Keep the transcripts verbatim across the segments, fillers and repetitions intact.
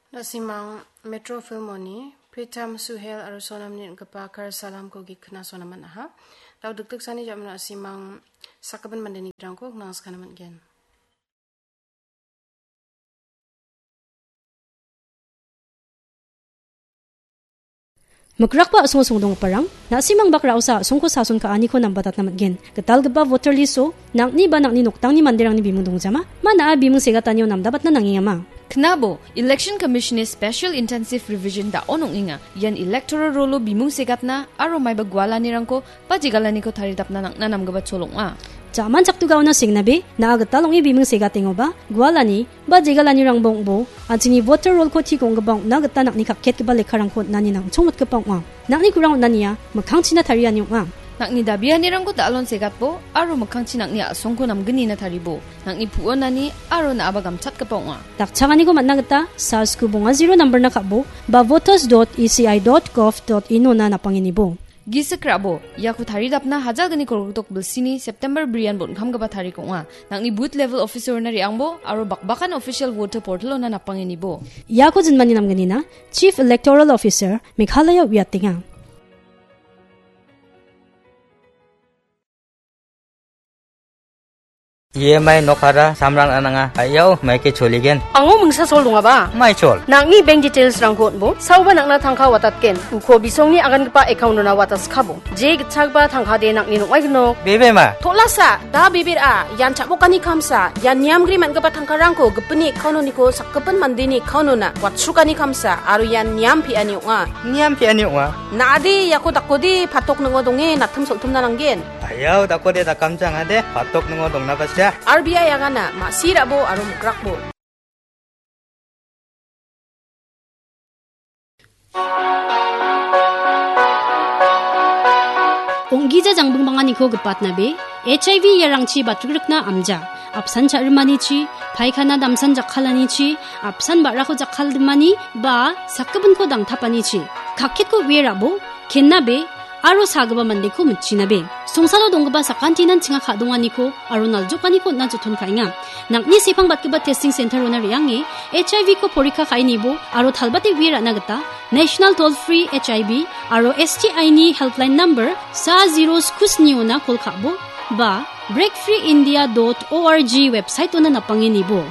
Na·simang Metro Filmoni Pritam Suhel aro Sonamni ringgipa Kar Salamko git knasona man·aha. Dao dikdiksani jam·o na·simang sakgipin mandeni gitrangko gnangskana man·gen. Mikrakba a·songo songdonggiparang, na·simang bak ra·osa a·songko sason ka·aniko nambatatna man·gen. Gitalgipa voter list-o nang·ni ba nang·ni noktangni manderangni bimung dongjama, mana bimung segatanio namdabatna nangengama. Knabo, Election Commission-ni Special Intensive Revision da·on ong·enga. Ian electoral roll-o bimung segatna aro maiba gualanirangko ba jegalaniko taridapna nang·na namgipa chol ong·a. Jaman chaktugaona sengnabe, na·a gital ong·e bimung segatengoba, gualani ba jegalanirangba ong·bo, an·chingni voter roll-ko tik ong·gipa ong·na gita nang·ni kakketgipa lekkarangko on·ani nangchongmotgipa ong·a. Nang·ni kurang on·ania mikkangchina tariani ong·a. Nang·ni dabianirangko da·alon segatbo aro mikkangchi nang·ni a·songko namgnina taribo. Nang·ni pu·onani aro na·aba gamchatgipa ong·a. Dakchakaniko man·na gita sars ku bonga zero nambarna ka·bo ba voters dot E C I dot gov dot in-ona napangenibo. Gisik ra·bo, iako taridapna hajalgni kolgrikdok bilsini September brian bon·kamgipa tarik ong·a. Nang·ni booth level officer-ona re·angbo aro bakbakan official voter portal-ona napangenibo. Iako jinmani namgnina Chief Electoral Officer Meghalaya uiatenga. E M I nokara samrang ananga. Ayau, maike choligen. Ango mingsa sol dongaba? Mai chol. Nang·ni bank details-rangko on·bo, saoba nang·na tangka watatgen. Uko bisongni agangipa account-ona wataskabo. Je gitchagba tangkade nang·ni nong·ai gnok. Bebema. Tolasa, da bebera, ian chabokani kamsa, ian niamgri man·gipa tangkarangko gipinni account-oniko sakgipin mandeni account-ona watsukani kamsa, aro ian niam pe·ani ong·a. Niam pe·ani ong·a. Na·ade, iako dakode, patok ning·o donge, natim sol·timna nanggen. Ayau, dakode dakamjang ade, patok ning·o dongna basia. R B I agana, ma·sirabo aro mikrakbo. Ong·gija jangbingbanganiko gipatnabe, H I V iarangchi batrikrikna amja, apsan cha·rimanichi, paikana damsan jakkalanichi, apsan ba·rako jakkaldimani, ba sakgipinko dangtapanichi, kakketko uie ra·bo, kennabe, aro sagipa mandeko mitchinabe. Songsalo donggipa sakantinan chinga ka·donganiko aro naljokaniko on·na joton ka·enga. Nang·ni sepang batgipa testing center-ona re·ange H I V-ko porikka ka·enibo aro talbate uie ra·na gita National Toll Free H I V aro S T I-ni helpline number sa zero sku sni-ona kol ka·bo ba break free india dot org website-ona napangenibo.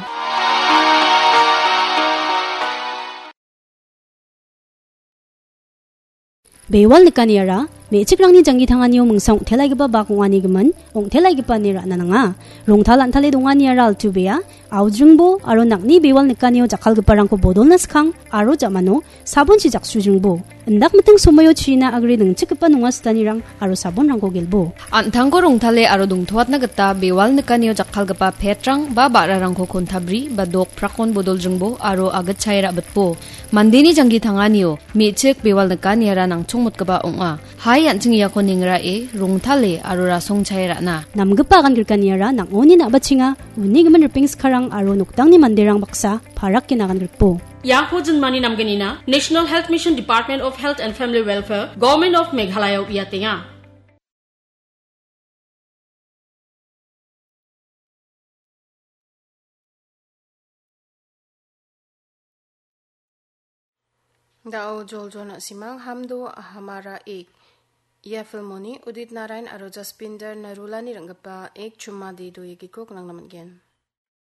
Bewal nikaniara, me·chikrangni janggi tanganio mingsa ong·telaigipa bak ong·ani gimin, ong·telaigipa ine ra·na nanga. Rongtal an·tale donganiara altu bea, aujringbo aro nang·ni bewal nikanio jakkalgiparangko bodolna skang aro jamano sabonchi jaksujringbo. Indak miting somoio china agre ningchikgipa nonga sitanirang aro sabonrangko gelbo. An·tangko rongtale aro dongtoatna gita bewal nikanio jakkalgipa petrang ba ba·rarangko kontabri ba dok prakon bodoljringbo aro agitchae ra·bitbo. Mandeni janggi tanganio me·chik bewal nikaniara nangchongmotgipa ong·a. Hai an·ching iako nengrae, rongtale aro rasongchae ra·na. Namgipa agan grikaniara nang·oni na·bachenga, uni gimin ripeng skarang aro noktangni manderang baksa parake nagan grikbo. Iako jinmani namgnina National Health Mission, Department of Health and Family Welfare, Government of Meghalaya uiatenga. Da·o joljol na·simang Hum Do Hamara Ek. Ia filmoni Udit Narayan aro Jaspinder Narulani ringgipa Ek Chumma De Do Ye gitko gnangna man·gen.